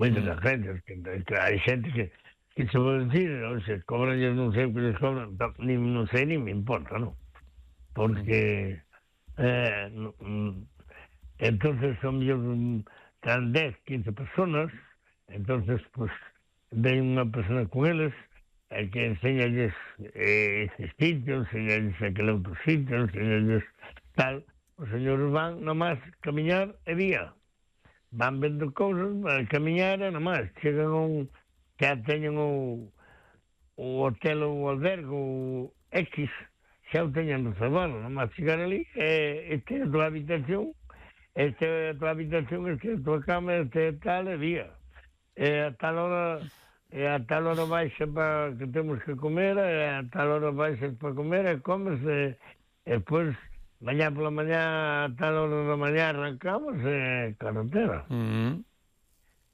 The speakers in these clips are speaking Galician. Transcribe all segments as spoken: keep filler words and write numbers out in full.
Moitas mm. agencias, que, que hai xente que, que se pode dicir, ou se cobran, eu non sei o que les cobran, ni, non sei, ni me importa, non? Porque, mm. eh, no, entonces son mellor, tan dez, quince personas, entonces, pues, ven unha persona con eles, e que enseñalles eh, ese sitio, enseñalles aquele outro sitio, enseñalles tal. Os señores van nomás camiñar e vía. Van vendo cousas, van camiñar e nomás. Chegan a un... xa teñen o, o hotel ou o albergue, o X, xa o teñen reservado. Nomás chegar ali, e esta é a tua habitación, esta é a tua habitación, esta é a tua cama, esta é tal, e vía. E a tal hora... e a tal hora baixa para que temos que comer, e a tal hora baixa para comer, e comes, e, e depois, mañá pola mañá, a tal hora da mañá arrancamos, e carretera. Mm.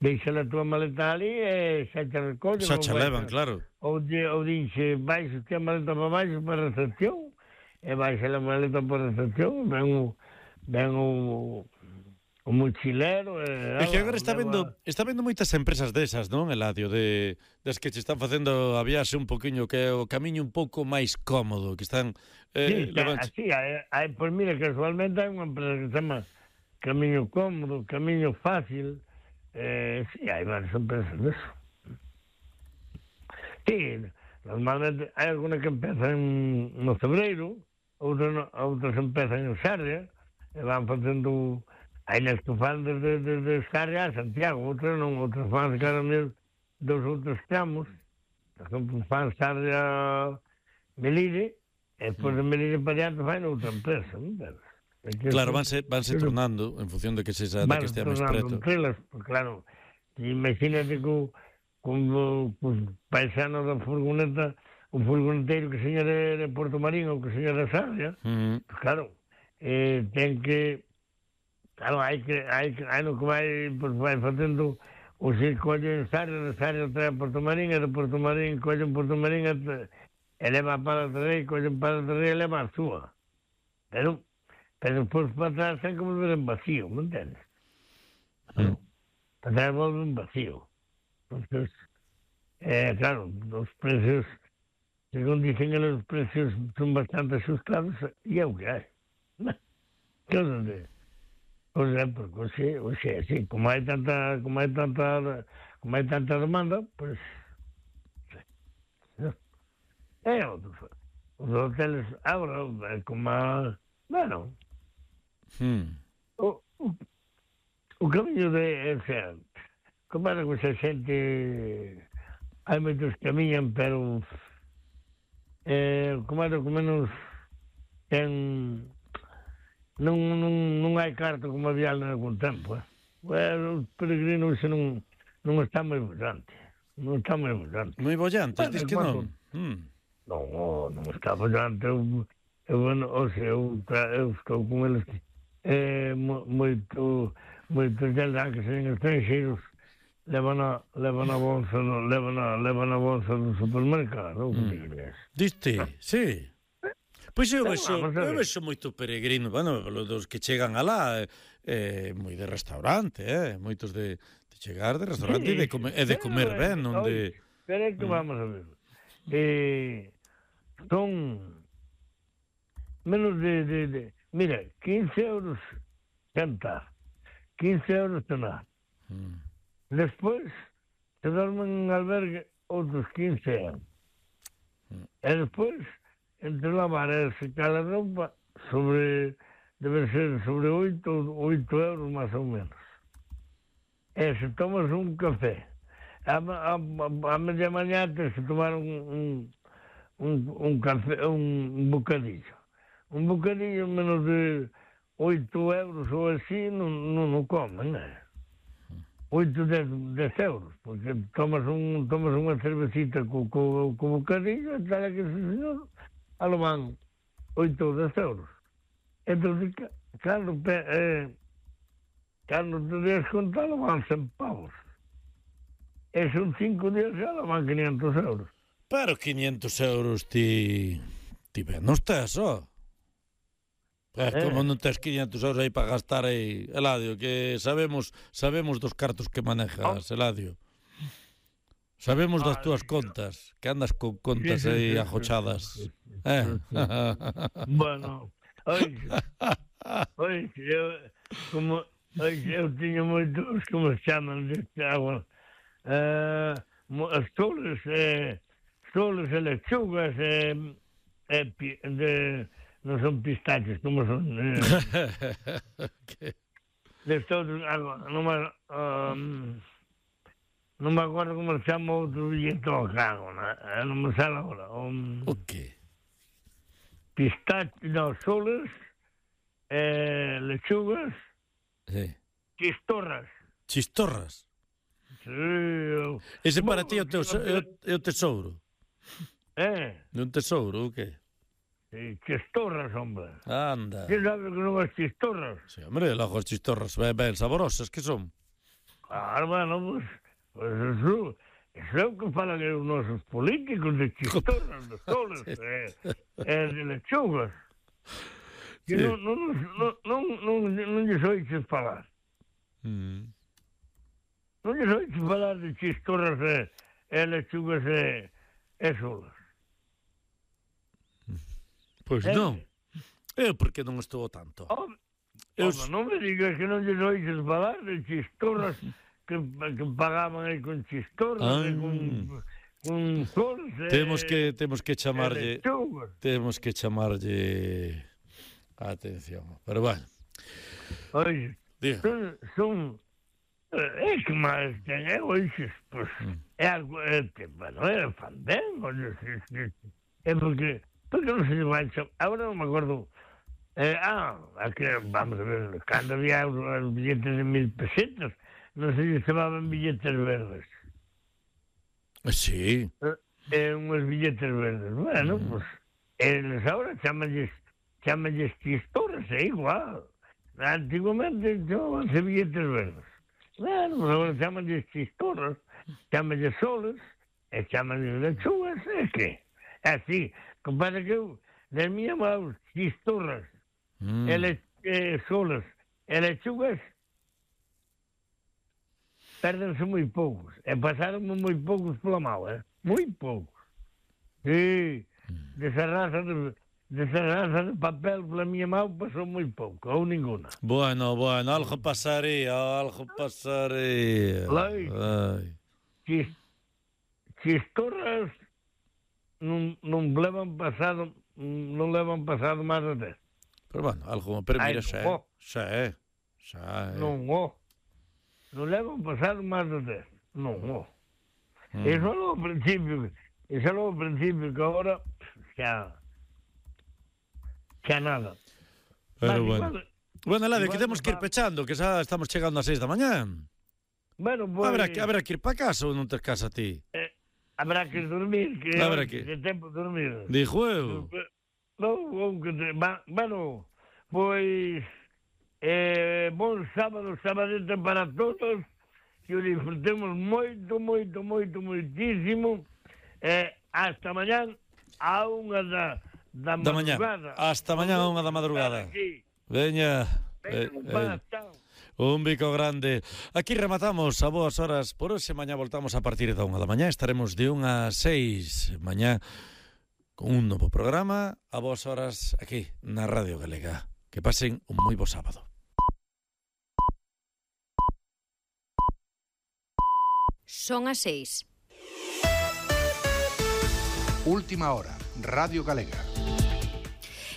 Deixa a tua maleta ali, e xa te recollen. Xa te levan, claro. Ou, ou dixe, baixa a maleta para baixo para a recepción, e baixa a maleta para a recepción, ven o, ven o, o mochilero... É que agora está vendo está vendo moitas empresas desas, non, Eladio, de, des que che están facendo a viaxe un poquinho, que é o camiño un pouco máis cómodo, que están... Eh, sí, levan... así, hai, hai, pois mira, casualmente hai unha empresa que se chama Camiño Cómodo, Camiño Fácil, eh, sí, hai varias empresas deso. Sí, normalmente hai alguna que empeza en, no Cebreiro, outras, outras empezan en Sarria, e van facendo... Hai nas que fan desde, desde Sarria a Santiago, outras non, outras fan cada mes dos outros tramos. Por exemplo, fan Sarria Melide, e depois de Melide para diante fan outra empresa, non sabes? Claro, vanse, vanse tornando en función de que se de que estea máis preto. Entrelas, pues, claro, imagínate que como pues, paisano da furgoneta, un furgoneteiro que seña de, de Porto Marín ou que seña de Sarria, mm. pues, claro, eh, ten que... Claro, hai que, hai que, hai no que vai, pues, vai facendo o se colle en Sarria, de Sarria trae a Porto Marín, e de Porto Marín colle en Porto Marín, e, e leva para a Terrei, colle para a Terrei e leva a súa. Pero, pero depois para atrás ten que volver en vacío, me entendes? Claro, para atrás volve en vacío. Entonces, eh, claro, os precios, según dicen, os precios son bastante ajustados, e é o que hai. Que os de... Pois é, porque hoxe, hoxe, sí, como hai tanta, como hai tanta, como hai tanta demanda, pois, sí. É, os, os hoteles, agora, como a, bueno, hmm. o, o, o camiño de, o sea, como era que esa xente, hai moitos que camiñan, pero, eh, como era que menos ten... Non, non, non hai carta como había en algún tempo, eh? Bueno, os peregrinos non, non están moi bollantes. Non están moi bollantes. Moi bollantes, bueno, diz que non? Mm. Non, non está bollante. Eu, eu, bueno, o sea, eu, eu estou con eles eh, moito, moitos deles que sen estranxeiros levan a, levan a bolsa, levan a, levan a bolsa do supermercado. Mm. Diste, sí. Pois eu vexo, eu vexo moito peregrino, bueno, dos que chegan alá, eh, moi de restaurante, eh, moitos de, de chegar de restaurante sí, e de comer, e de comer ben, non de... Pero é que vamos a ver, eh, son menos de, de, de, mira, quince euros sentar, quince euros cenar, mm. despois se dormen en albergue outros quince euros, mm. e despois entre lavar e secar a roupa sobre, debe ser sobre oito, oito euros máis ou menos. E se tomas un café, a, a, a media mañá tens que tomar un, un, un, un café, un bocadillo. Un bocadillo menos de oito euros ou así non, non o comen, né? oito, dez euros, porque tomas, un, tomas unha cervecita co, co, co bocadillo e tal que ese señor alo van oito ou dez euros. Entón, cando, eh, cando te des conta, alo van cen pavos. E son cinco días, alo van quinientos euros. Pero quinientos euros ti... ti ben non estás, ó. Eh, como non tes quinhentos euros aí para gastar aí, Eladio, que sabemos sabemos dos cartos que manejas, Eladio. Sabemos das túas contas, que andas con contas aí ajochadas. Eh. Bueno, oixe, oixe, eu, como, oixe, eu tiño moitos, como se chaman deste agua, uh, as soles, eh, soles e lechugas, eh, eh, de... non son pistaches, como son? Eh, okay. Destos, non me, um, non me acordo como se chama outro billetón, cago, non me sale agora. Um, o que? Pistaches, non, soles, eh, lechugas, sí. Chistorras. Chistorras? Sí. Eu... Ese para ti é o, teu, é o tesouro? Eh? É un tesouro, o que? Sí, chistorras, hombre. Anda. ¿Quién sabe que non as chistorras? Sí, hombre, logo as chistorras ben, ben saborosas que son. Claro, bueno, pues, pues eso, eso é o que falan os nosos políticos de chistorras, de soles, sí. eh, eh, de lechugas. Que sí. non, non, non, non, non, non lles oiches falar. Mm. Non lles oiches falar de chistorras e, e lechugas e, e soles. Pois pues non. Eu porque non estou tanto. Oh, eu... oh, non me digas que non lles oiches falar de chistorras que, que pagaban aí con chistorras ah. e con, con soles. Temos que temos que chamarlle temos que chamarlle atención. Pero bueno. Oye, son, son é que máis ten, é oixes, pois mm. é algo, é que, bueno, é fandango, é porque porque non se vai chamar, agora non me acordo, eh, ah, aquí, vamos a ver, cando había os billetes de mil pesetas, non se lle chamaban billetes verdes. Sí. Eh, unhos billetes verdes, bueno, mm. pues, eles agora chamanlles, chamanlles chistorras, é igual. Antiguamente chamabanse billetes verdes. Bueno, pues agora chamanlles chistorras, chamanlles soles, e chamanlles lechugas, é que, é así. Compadre, que eu, das minhas mãos, chistorras, mm. ele, eh, solas e lechugas, perdense moi poucos. E pasaron moi poucos pola mão, eh? Moi poucos. Sí, mm. desa raza de, desa raza de papel pola minha mão pasou moi pouco, ou ninguna. Bueno, bueno, algo pasaría, algo pasaría. Ai. Chis, chistorras... Non, non levan pasado non levan pasado máis de dez. Pero bueno, algo, pero mira, xa é, xa é, xa é. Non, ó, non levan pasado máis de dez. Non, ó. Mm. Eso é o principio, eso é o principio que agora xa xa nada. Pero mas, bueno. Igual, bueno, Eladio, que temos que ir pechando, que xa estamos chegando ás seis da mañá. Bueno, pues... Habrá que, habrá que ir para casa ou non tes casa a ti? Eh, habrá que dormir, que habrá que de tempo dormir. Dijo eu. Non, que te, va, bueno, pois eh, bon sábado, sabadete para todos, que o disfrutemos moito, moito, moito, moitísimo, eh, hasta mañán a unha da, da, da madrugada. Mañá. Hasta mañán a unha da madrugada. Veña. Eh, eh. Un bico grande. Aquí rematamos a boas horas por hoxe. Mañá voltamos a partir da unha da mañá. Estaremos de unha a seis mañá con un novo programa a boas horas aquí na Radio Galega. Que pasen un moi bo sábado. Son as seis. Última hora, Radio Galega.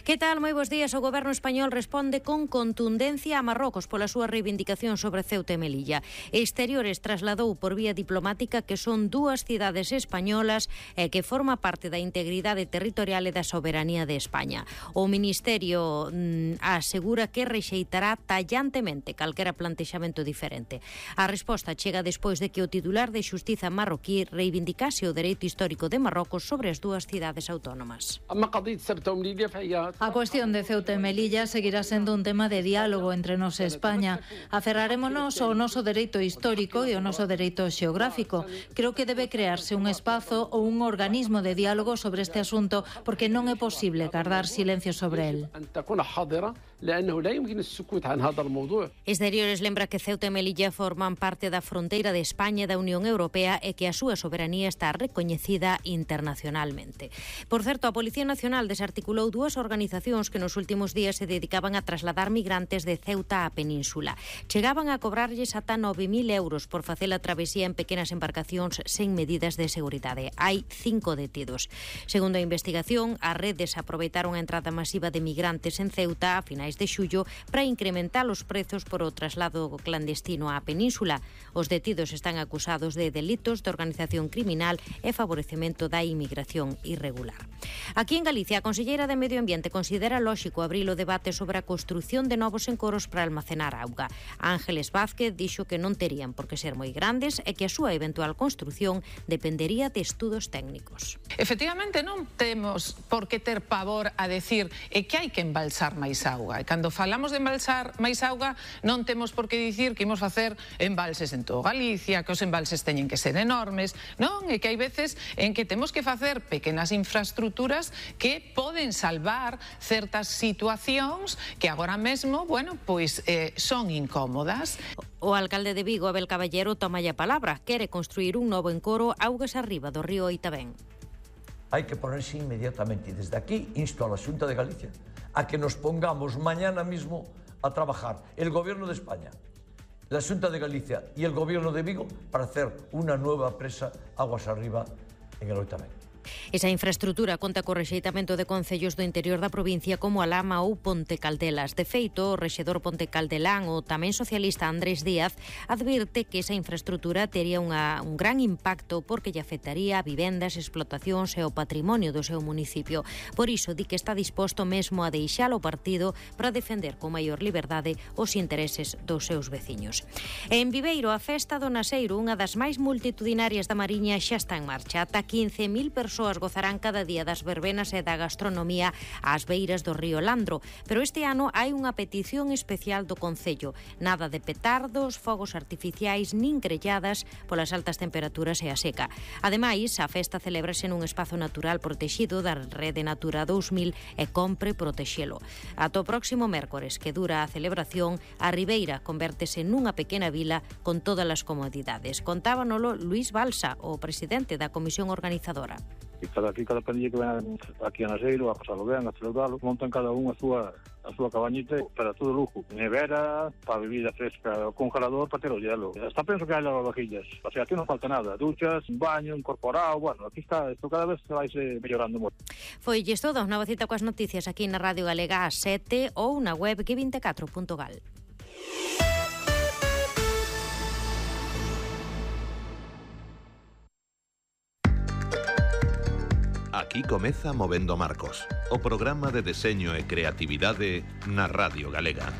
Que tal? Moi bons días. O goberno español responde con contundencia a Marrocos pola súa reivindicación sobre Ceuta e Melilla. Exteriores trasladou por vía diplomática que son dúas cidades españolas e que forma parte da integridade territorial e da soberanía de España. O Ministerio mm, asegura que rexeitará tallantemente calquera plantexamento diferente. A resposta chega despois de que o titular de Xustiza marroquí reivindicase o dereito histórico de Marrocos sobre as dúas cidades autónomas. أما قضية سبتة ومليلية فهي A cuestión de Ceuta e Melilla seguirá sendo un tema de diálogo entre nos e España. Aferrarémonos ao noso dereito histórico e ao noso dereito xeográfico. Creo que debe crearse un espazo ou un organismo de diálogo sobre este asunto, porque non é posible guardar silencio sobre el. Exteriores lembra que Ceuta e Melilla forman parte da fronteira de España e da Unión Europea e que a súa soberanía está recoñecida internacionalmente. Por certo, a Policía Nacional desarticulou dúas organizacións que nos últimos días se dedicaban a trasladar migrantes de Ceuta á península. Chegaban a cobrarlles ata nove mil euros por facer a travesía en pequenas embarcacións sen medidas de seguridade. Hai cinco detidos. Segundo a investigación, as redes aproveitaron a entrada masiva de migrantes en Ceuta a finais de xullo para incrementar os prezos por o traslado clandestino á península. Os detidos están acusados de delitos de organización criminal e favorecemento da inmigración irregular. Aquí en Galicia, a Conselleira de Medio Ambiente considera lóxico abrir o debate sobre a construción de novos encoros para almacenar auga. Ángeles Vázquez dixo que non terían por que ser moi grandes e que a súa eventual construción dependería de estudos técnicos. Efectivamente, non temos por que ter pavor a decir e que hai que embalsar máis auga. E cando falamos de embalsar máis auga, non temos por que dicir que imos facer embalses en todo Galicia, que os embalses teñen que ser enormes, non? E que hai veces en que temos que facer pequenas infraestructuras que poden salvar certas situacións que agora mesmo, bueno, pois eh, son incómodas. O alcalde de Vigo, Abel Caballero, toma a palabra. Quere construir un novo encoro augas arriba do río Oitabén. Hai que ponerse inmediatamente, e desde aquí insto a la Xunta de Galicia a que nos pongamos mañana mismo a trabajar el Gobierno de España, la Xunta de Galicia y el Gobierno de Vigo para hacer una nueva presa aguas arriba en el Oitabén. Esa infraestructura conta co rexeitamento de concellos do interior da provincia como a Lama ou Ponte Caldelas. De feito, o rexedor Ponte Caldelán, o tamén socialista Andrés Díaz, advirte que esa infraestructura tería unha, un gran impacto porque lle afectaría a vivendas, explotacións e o patrimonio do seu municipio. Por iso, di que está disposto mesmo a deixar o partido para defender con maior liberdade os intereses dos seus veciños. E en Viveiro, a festa do Naseiro, unha das máis multitudinarias da Mariña, xa está en marcha. Ata quince mil persoas gozarán cada día das verbenas e da gastronomía ás beiras do río Landro, pero este ano hai unha petición especial do Concello. Nada de petardos, fogos artificiais nin grelladas polas altas temperaturas e a seca. Ademais, a festa celébrase nun espazo natural protexido da Rede Natura dous mil e compre protexelo. Ata o próximo mércores, que dura a celebración, a Ribeira convértese nunha pequena vila con todas as comodidades. Contábanolo Luís Balsa, o presidente da comisión organizadora. E cada aquí, cada pandilla que ven aquí a Naseiro, a pasalo ben, a celebralo, montan cada un a súa a súa cabañita para todo lujo. Nevera, para bebida fresca, o congelador para ter o hielo. Hasta penso que hai lavavajillas. O sea, aquí non falta nada. Duchas, un baño, incorporado, bueno, aquí está, isto cada vez se vai se mellorando moito. Foi lles todo, nova cita coas noticias aquí na Radio Galega ás sete ou na web G veinticuatro punto gal. Aquí comeza Movendo Marcos, o programa de deseño e creatividade na Radio Galega.